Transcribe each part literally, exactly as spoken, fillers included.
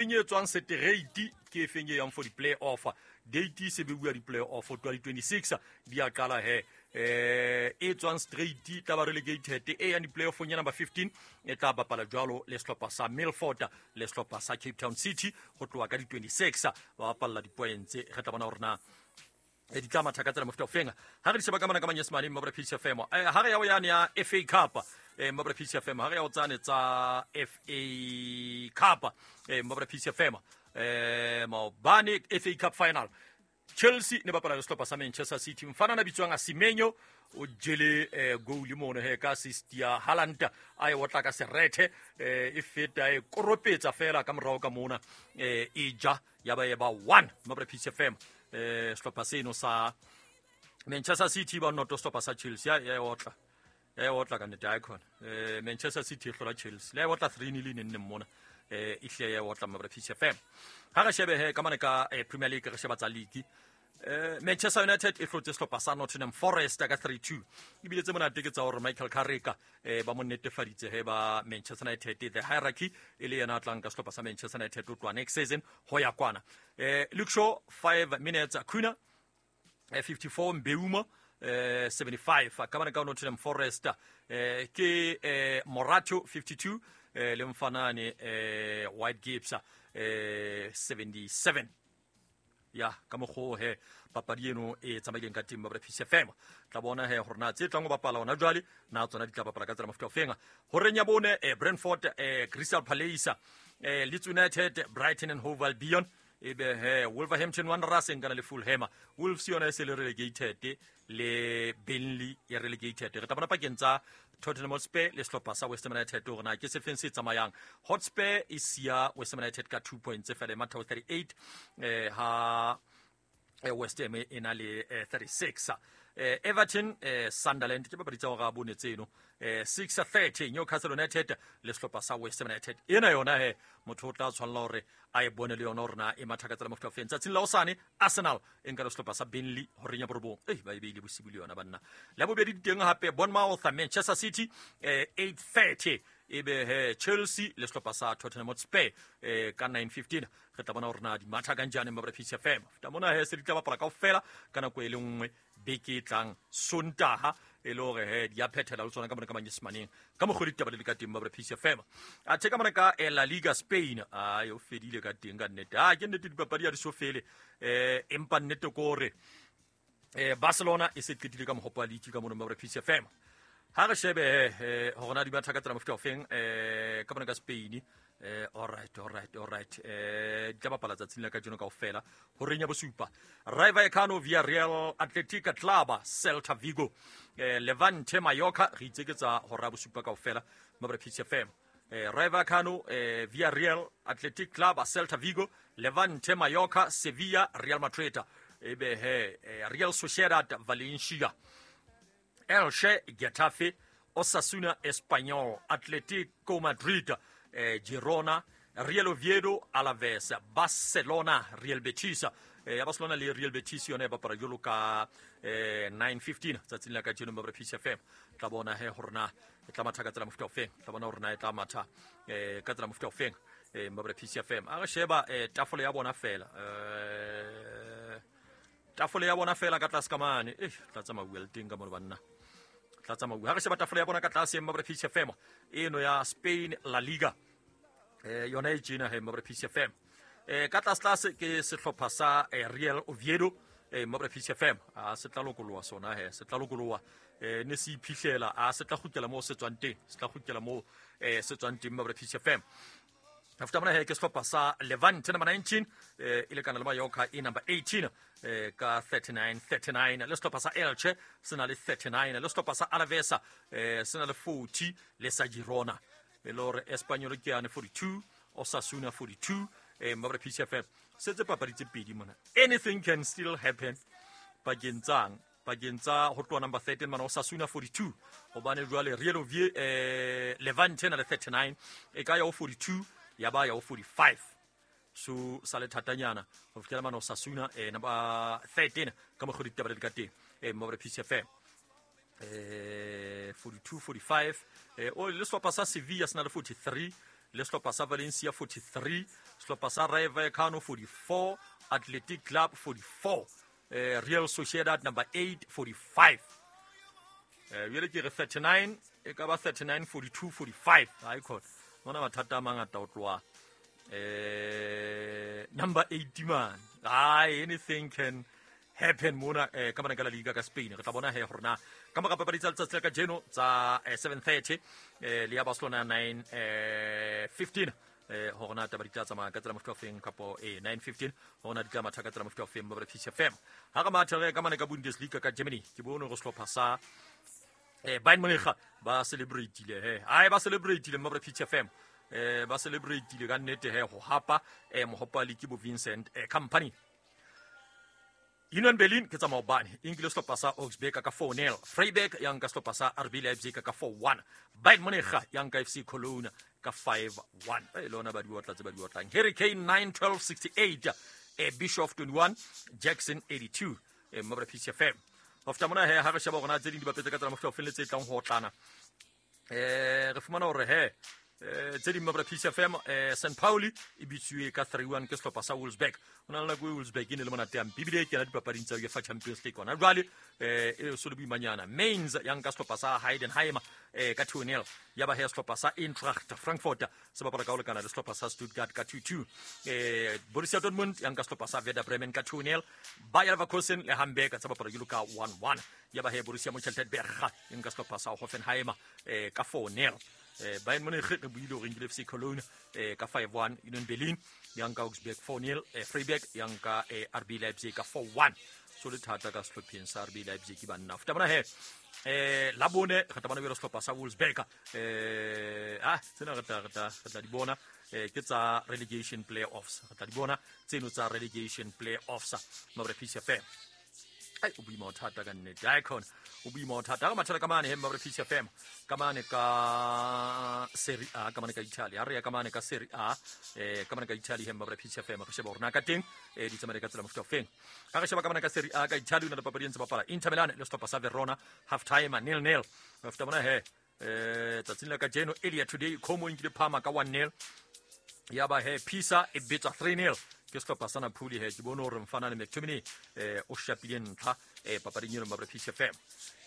E tswang seterate ke efeng e yang for di-play-off date se beuwa di-play-off twenty twenty-six di a qala he eh e tswang straight tla ba relegated e yang di-play-offong ya number fifteen e tla bapala jwalo le sehlopha sa Milford le sehlopha sa Cape Town City ho tloha ka di twenty-six ba bapalla di-points. Re tla bona hore na e di tla matha ka tsela mofuta ofeng. Ha re di sheba ka mona ka manyesemane mabra P C F M, eh ha re ya ho yane ya F A Cup, eh mabra P C F M, ha re ya ho tsane tsa F A Cup, eh mabra P C F M, eh maobane F A Cup final Chelsea ne bapala le sehlopha sa Manchester City. Mfana na bitswang Semenyo o jele eh, goal mono he ka assist ya Haaland, a e otla ka serethe, eh, e feta e koropetsa fela ka morao ka mona, eh, e ja ya ba e ba one mabra P C F M. eh sehlopha seno sa Manchester City ba noto sehlopha sa Chelsea ya e otla ya e otla ka nnete icon. eh Manchester City e hlola Chelsea le e otla three nil nne mona, eh e hle ya e otla mabra P C F M. Ha re shebe he ka mane ka eh, Premier League, re sheba tsa league, eh Manchester United e hlotse sehlopha sa Nottingham Forest ka three two. Ebile tse monate ke tsa hore Michael Carrick eh ba mo netefaditse he ba Manchester United the hierarchy e le yena a tlang ka sehlopha sa Manchester United ho tloha next season ho ya kwana. eh Luke Shaw five minutes, Cunha eh, fifty-four, Mbeumo eh seventy-five. Ka bana ka Nottingham Forest eh ke eh Morato fifty-two, eh le mfanane eh White Gibbs eh seventy-seven. Ya ka mokgwa he papadi eno e tsamaileng ka teng ba P C F M. Tla bona he hore na tse tlang ho bapala hona jwale na tsona di tla bapala ka tsela mofuta ofeng. Horeng ya bone, eh, Brentford eh, Crystal Palace, eh, Leeds United, Brighton and Hove Albion, ebe he Wolverhampton Wanderers e nkana le Fulham. Wolves yona e se le relegated, le Burnley e relegated. Re tla bona pakeng tsa Tottenham Hotspur le sehlopha sa West Ham United hore na ke se feng se tsamayang. Hotspur e siya West Ham United ka two points fela, e matha ho thirty-eight, eh, ha eh, West Ham e na le eh, thirty-six. eh, Everton eh, Sunderland ke papadi tsa hora a bone tseno, eh, six thirty. Newcastle United le sehlopha sa West Ham United ena yona he motho o tla tshwanela hore a e bone le yona hore na e matha ka tsela mofuta ofeng. Tsatsing la hosane Arsenal e nka le sehlopha sa Burnley horeng ya borobong. Ei, ba e beile bosibu le yona banna. La bobedi di teng hape Bournemouth Manchester City eh, eight thirty, ebe he Chelsea le sehlopha sa Tottenham Hotspur eh, ka nine fifteen. Re tla bona hore na di matha kanjane mabra P C F M. Feta mona he se di tla bapala kaofela ka nako e le nngwe beke e tlang Sontaha, e le hore he di a phethela le tsona ka mona ka manyesemaneng ka mokgwa ditaba le ka teng mabra P C F M. Athe ka mona ka eh, La Liga Spain a o fedile ka teng ka nnete. A ke nnete dipapadi ha di so fele, eh empa nnete ke hore eh Barcelona e se qetile ka mohopo wa league ka mona mabra P C F M. Ha re shebe eh hore na di batha ka tsela mofuta ofeng eh ka mona ka Spain. eh alright alright alright eh di tla bapala tsatsing la kajeno kaofela horeng ya bosupa. Rayo Vallecano, Villarreal, Athletic Club, Celta Vigo, eh Levante, Mallorca. Re itse ke tsa hora ya bosupa kaofela mabra P C F M. eh Rayo Vallecano, eh Villarreal, Athletic Club, Celta Vigo, Levante, Mallorca, Sevilla, Real Madrid, ebe he eh, Real Sociedad, Valencia, Elche, Getafe, Osasuna, Espanyol, Atletico Madrid, eh, Girona, Real Oviedo, Alaves, Barcelona, Real Betis. Eh, ya Barcelona le Real Betis yona e bapala jwalo ka eh, nine fifteen tsatsing la kajeno mabra P C F M. Tla bona he hore na e tla matha ka tsela mofuta ofeng. Tla bona hore na e tla matha eh, ka tsela mofuta ofeng eh, mabra P C F M. A re sheba eh, tafole ya bona fela, eh, tafole ya bona fela ka tlase ka mane, eh tla tsamaya le teng ka mona banna, tla tsamaya. Ha re sheba tafole ya bona ka tlase mabra P C F M eno ya Spain La Liga, eh yona e tjena he mabra P C F M. eh ka tlase tlase ke sehlopha sa eh, Real Oviedo eh mabra P C F M. A se tla lokoloha sona he, se tla lokoloha, eh ne se iphihlela, a se tla kgutlela moo se tswang teng, se tla kgutlela moo eh se tswang teng mabra P C F M. After mona he ke sehlopha sa Levante number nineteen, eh e lekana le Mallorca e number eighteen eh ka thirty-nine thirty-nine, le sehlopha sa Elche se na le thirty-nine, le sehlopha sa Alaves eh se na le forty, le sa Girona, e le hore Espanyol ke yane forty-two, Osasuna forty-two. eh mabra P C F M setse papadi tse pedi mona, anything can still happen pakeng tsang pakeng tsa ho tloha number thirteen mana Osasuna forty-two, hobane jwale Real Ovie eh Levante na le thirty-nine, e ka ya ho forty-two ya ba ya ho forty-five. So sa le thatanyana ho fihlela mana Osasuna eh number thirteen ka mokgwa ditaba di ka teng eh mabra P C F M, eh forty-two forty-five. eh o le sehlopha sa Sevilla se na le forty-three, le sehlopha sa Valencia forty-three, sehlopha sa Rayo Vallecano forty-four, Athletic Club forty-four, eh, Real Sociedad number eight forty-five. Eh, jwale ke re thirty-nine, e ka ba thirty-nine, forty-two, forty-five. Hai khona. Mona mathata a mangata ho tloha eh number eighty man. Ai, anything can happen mona eh ka bana ka la liga ka Spain. Re tla bona he hore na ka mora papadi tsa letsatsi la kajeno tsa eh, seven thirty eh le ya Barcelona nine eh fifteen eh hore na taba di tla tsamaya ka tsela mofuta ofeng kapo eh nine fifteen hore na di tla matha ka tsela mofuta ofeng ba P C F M. Ha re matha re ka mane ka Bundesliga ka Germany ke bone hore sehlopha sa eh Bayern Munich ba celebrate-ile he. Ai ba celebrate-ile mma P C F M. Eh ba celebrate-ile ka nnete he ho hapa eh mohopa le ke bo Vincent eh Company. Union Berlin ke tsa maobane e nkile sehlopha sa Augsburg ka four nil, Freiburg ya nka sehlopha sa R B Leipzig ka four one, Bayern Munich ya nka F C Cologne ka five one. E lona ba di otla tse ba di otlang. Harry Kane nine twelve sixty-eight, eh Bischoff twenty-one, Jackson eighty-two, eh mma P C F M. Ho feta mona he ha re sheba hore na tse ding di bapetse ka tsela mofuta o felletse e tlang ho otlana. Eh re fumana hore he eh tse ding mma P C F M eh Saint Pauli e bitsuwe ka three one ke sehlopha sa Wolfsburg. Ho na le nako e Wolfsburg e ne le monate ya ebile e kena dipapading tsa UEFA Champions League hona jwale eh e so le boimanyana. Mainz ya nka sehlopha sa Heidenheim eh ka two nil, ya ba he sehlopha sa Eintracht Frankfurt se bapala ka ho lekana le sehlopha sa Stuttgart ka two two. Eh Borussia Dortmund ya nka sehlopha sa Werder Bremen ka two nil, Bayer Leverkusen le Hamburg tsa bapala jwalo ka one one, ya ba he Borussia Mönchengladbach ya nka sehlopha sa Hoffenheim eh ka four nil. Eh Bayern Munich re buile hore nkile F C Cologne eh ka five one, Union Berlin ya nka Augsburg four nil, eh Freiburg ya nka eh, R B Leipzig ka four one. So le thata ka sehlopheng sa R B Leipzig banna. Futa bona he eh la bone re tla bona jwalo sehlopha sa Wolfsburg eh ah tsena re tla re tla re tla di bona eh ke tsa relegation playoffs. Re tla di bona tseno tsa relegation playoffs mabra P C F M. Ai o boima o thata ka nnete. Ai khona o boima o thata. Ha re mathela ka mane he mabra P C F M ka mane ka Serie A ka mane ka Italy. Ha re ya ka mane ka Serie A eh ka mane ka Italy he mabra P C F M re sheba hore na ka teng eh di tsamaye ka tsela mofuta ofeng. Ha re sheba ka mane ka Serie A ka Italy o na le papadi e ntse bapala Inter Milan le sehlopha sa Verona half time nil nil. Mofuta bona he eh tsatsing la kajeno earlier today Como e nkile Parma ka one nil. Ya ba he Pisa e betsa three nil. Ke sehlopha sa Napoli he ke bone hore mfana le McTominay eh o shapile ntlha eh papading eno mabra P C F M.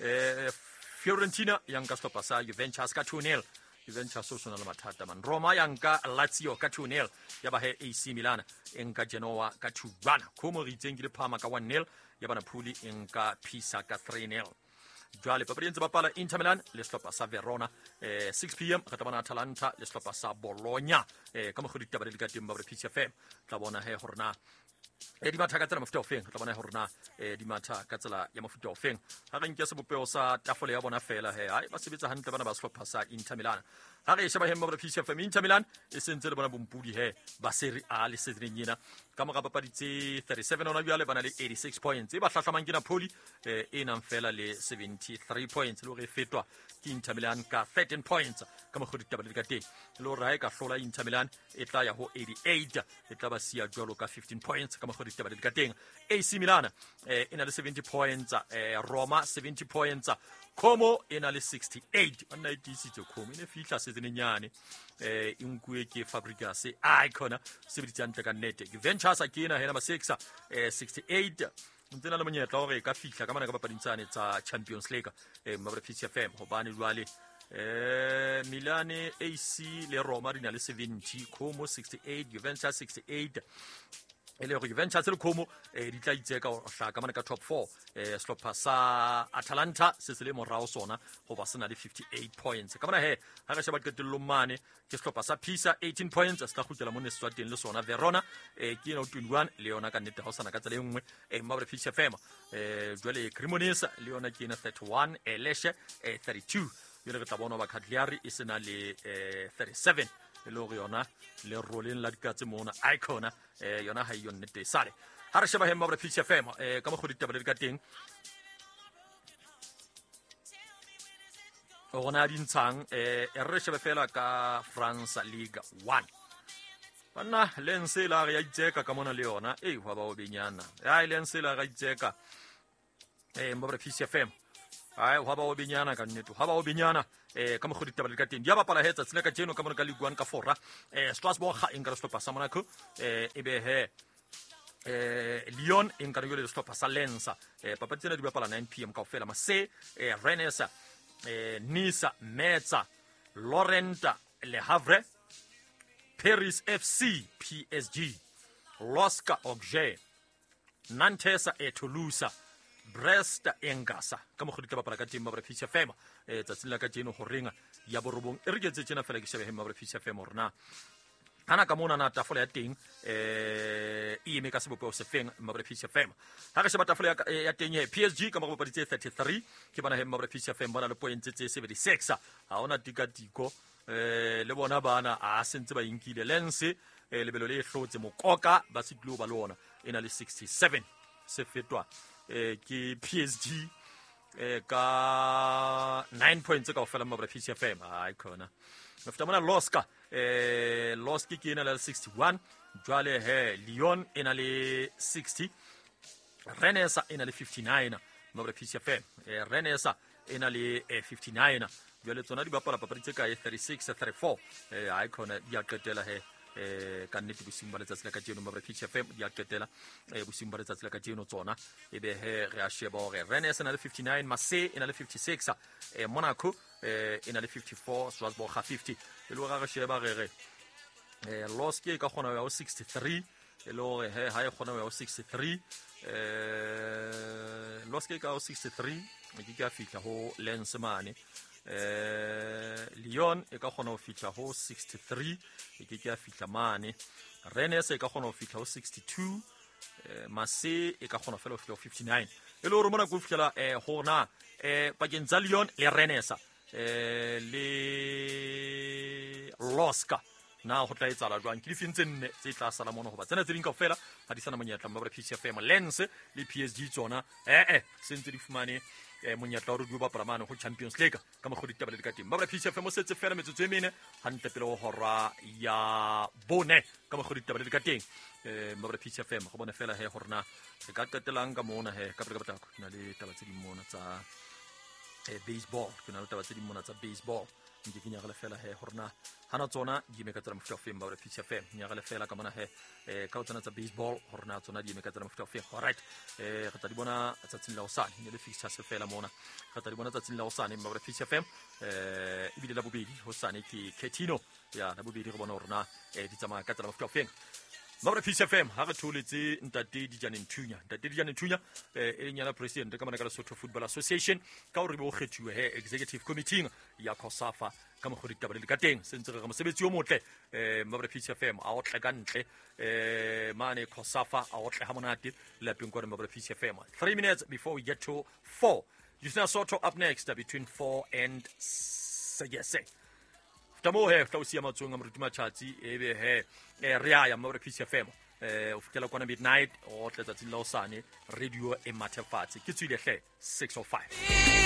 Eh Fiorentina ya nka sehlopha sa Juventus ka two nil. Juventus o sona le mathata man. Roma ya nka Lazio ka two nil. Ya ba he A C Milan e nka Genoa ka two one. Como re itseng ke le Parma ka one nil. Ya ba Napoli e nka Pisa ka three nil. Jwale papadi e ntse bapala Inter Milan le sehlopha sa Verona eh six p m re tla bona Atalanta le sehlopha sa Bologna eh ka mokgwa ditaba di le ka teng ba P C F M. Tla bona he hore na eh di matha ka tsela mofuta ofeng. Tla bona hore na eh di matha ka tsela ya mofuta ofeng. Ha re nke sebopeho sa tafole ya bona fela he ai ba sebetsa hantle bana ba sehlopha sa Inter Milan. Ha re sheba he mma P C F M Inter Milan e sentse le bona bompudi he ba Serie A le seasoneng ena ka mora papadi tse thirty-seven hona jwale ba na le eighty-six points. E ba hlahlamang ke Napoli eh e nang fela le seventy-three points le hore e fetwa ke Inter Milan ka thirteen points ka mokgwa ditaba di ka teng. Le hore ha e ka hlola Inter Milan e tla ya ho eighty-eight e tla ba siya jwalo ka fifteen points ka mokgwa ditaba di ka teng. A C Milan eh e na le seventy points, eh Roma seventy points, Como e na le sixty-eight. Banna e tiisitse Como e ne fihla seasoneng yane eh e nkuwe ke Fabregas ai khona sebeditse hantle ka nnete. Juventus ke ena he number six eh sixty-eight ntse na le monyetla hore e ka fihla ka mane ka papading tsane tsa Champions League eh mabra P C F M hobane jwale eh Milan A C le Roma di na le seventy, Como sixty-eight, Juventus sixty-eight. E le hore Juventus le Como eh di tla itseka ho hlaka ka mane ka top four. Eh sehlopha sa Atalanta se se le morao sona hoba se na le fifty-eight points. Ka mona he ha re sheba qetellong mane ke sehlopha sa Pisa eighteen points se tla kgutlela mone se tswa teng le sona. Verona eh ke ena twenty-one le yona ka nnete ha o sana ka tsela e nngwe eh mabra P C F M. Eh jwale Cremonese le yona ke ena thirty-one, eh Lecce eh thirty-two. Jwale re tla bona ba Cagliari e sena le eh thirty-seven e le hore yona le roleng la dikatse mona icona eh yona ha e yone nnete sale. Ha re sheba he mabra P C F M eh ka mokgwa ditaba di ka teng rona di ntshang eh re shebe fela ka France Ligue one. Banna Lens la re ya itseka ka mona le yona e hwa ba o benyana. Ai Lens la re itseka eh mabra P C F M Ai hwa ba o benyana ka nnete hwa ba o benyana eh ka mokgwa ditaba le ka teng di a bapala he tsatsi la kajeno ka mona ka Ligue one ka fora eh Strasbourg ga e nka sehlopha sa Monaco eh e be he eh Lyon e nka le sehlopha sa Lens eh papadi tsena di bapala nine p m kaofela Marseille eh Rennes eh Nice Metz Lorient Le Havre Paris F C P S G L O S K Auxerre Nantes e Toulouse Brest Engasa ka mokgwa di tla bapala ka teng Mabra P C F M eh tsatsing la kajeno horeng ya borobong e re ke tse tjena fela ke shebe he Mabra P C F M hore na hana ka mona na tafole ya teng eh e eme ka sebopeho se feng Mabra P C F M ha re sheba tafole ya, ya teng he P S G ka mora bapadi tse thirty-three ke bana he Mabra P C F M bana le points tse seventy-six ha ona tikatiko eh le bona bana a sentse ba inkile Lens eh lebelo le hlotse Mokoka ba sitlwe ba le ona e na le sixty-seven se fetwa eh ke P S G eh ka nine points kaofela Mabra P C F M ai khona mafita mona L O S K eh L O S K ke ena le sixty-one jwale he Lyon e na le sixty Rennes e na le fifty-nine Mabra P C F M eh Rennes e na le fifty-nine jwale tsona di bapala papadi tse kae thirty-six thirty-four eh ai khona di a qetela he eh ka nnete bosiung ba letsatsi la kajeno Mabra P C F M di a qetela eh bosiung ba letsatsi la kajeno tsona e be he re a sheba hore Rennes e na le fifty-nine Marseille e na le fifty-six eh Monaco eh e na le fifty-four Strasbourg ga fifty e le hore re sheba re re eh L O S K e ka kgona ho ya ho sixty-three e le hore he ha e kgona ho ya ho sixty-three eh L O S K e ka ho sixty-three e ke ka fihla ho Lens mane eh Lyon e ka kgona ho fihla ho sixty-three e ke ke ya fihla mane Rennes e ka kgona ho fihla ho sixty-two eh Marseille e ka kgona fela ho fihla ho fifty-nine e le hore mona ko fihlela eh hona eh pakeng tsa Lyon le Rennes eh le L O S K na ho tla etsahala jwang ke difeng tse nne tse tla sala mona hoba tsena tse ding kaofela ha di sana monyetla Mabra P C F M Lens le P S G tsona eh eh se ntse di fumane eh monyetla hore di bapala mane ho Champions League ka mokgwa ditaba le di ka teng Mabra P C F M o setse fela metsotso e mene hantle pele ho hora ya bone ka mokgwa ditaba le di ka teng eh Mabra P C F M go bone fela he hore na re ka qetelang ka mona he ka pele ka potlako na le taba tse ding mona tsa eh baseball ke na le taba tse ding mona tsa baseball nke ke nyagale fela he hore na hana tsona di eme ka tsela mofuta ofeng Mabra P C F M nyagale fela ka mona he eh ka tsona tsa baseball hore na tsona di eme ka tsela mofuta ofeng all right eh re tla di bona tsatsing la hosane ne le fixtures fela mona re tla di bona tsatsing la hosane Mabra P C F M eh ebile la bobedi hosane ke Ketino ya la bobedi re bona hore na eh di tsamaya ka tsela mofuta ofeng Mabra P C F M ha re tholetse ntate Dijane Nthunya ntate Dijane Nthunya eh e leng yena president ka mona ka Lesotho Football Association ka hore be o kgethuwe he executive committee ya COSAFA ka mokgwa ditaba le ka teng se ntse re re mosebetsi o motle eh Mabra P C F M a otle ka ntle eh mane COSAFA a otle ha monate lapeng kwa Mabra P C F M three minutes before we get to four Justina Soto up next between four and six Tamo he tla o siya matsong a moruti Matjhatsi ebe he re a ya Mabra P C F M eh o fihlela kwana midnight o tle tsatsing la hosane radio e mathefatse ke tswile hle six oh five.